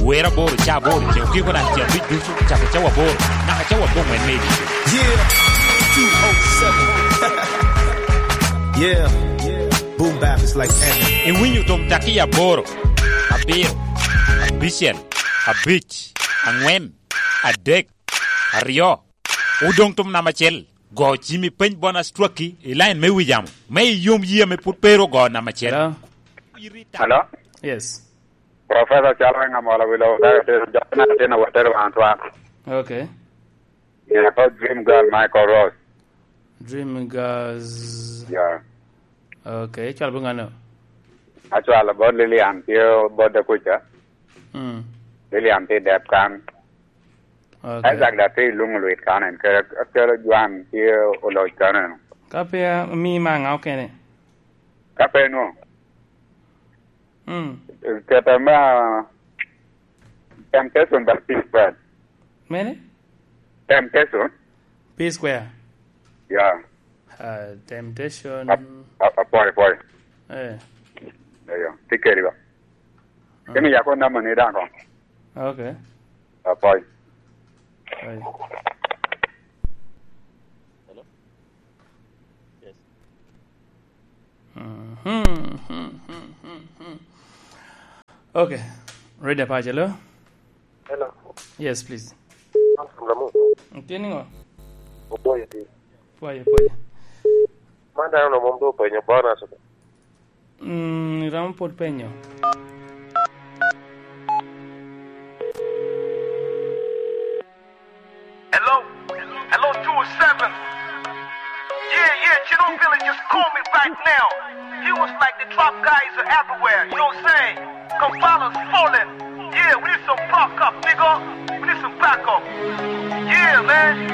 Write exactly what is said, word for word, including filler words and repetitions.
Wero aboro, ca aboro, ce okiko naka ce abic ducu, cako cawa aboro, naka cawa aboŋwen me idito. Yeah, two oh seven. Yeah, boom bap is like heaven. Iwinyo tom taki aboro, abiro, abicel, abic, aŋwen, adek, aryo. Odoŋ tom namba acel. Go cimi peny Bonus Twaki i line me wi jamo, me iyom yie ame pwod pe ru ogo namba acel. Hello? Hello? Yes. Professor Chalweng Amolo Wilo, ka atero, jok na ateno, watero wan twan. Okay. Yeah, called Dream Girl, Michael Ross. Dream Girls. Yeah. Okay, cwalo bot ŋano? Acwalo bot Lilian, tye bot Dakuca. Mm. Lilian tye dep kan. Okay. Isaac da tye i luŋ lwit kan en, kede, kede Juan tye oloc kan en. Ka pe mi ma ŋa okene? Ka pe nwo. Mm. Kete me, ah, Temptation by P Square. Mene? Temptation. P Square? Yeah. Ah, Temptation. Ap-, ap-, apwoyo, apwoyo. Eh. Eyo, tye kedi ba. Mm. Kemi yako namba ni daŋ koŋ. Okay. Apwoyo. Hey. Hello? Yes. Mhm. Okay. Ready, Apache, hello? Hello. Yes, please. Ramu. Tye niŋo? Opwoyo ti. Pwoyo, pwoyo. Man dano mom dok openyo bonus. Mm, iromo pwod penyo. Hello? Hello, two oh seven. Yeah, yeah, Chino Billy just called me right now. He was like, "The trap guys are everywhere," you know what I'm saying? Kampala's falling. Yeah, we need some backup, nigga. We need some backup. Yeah, man.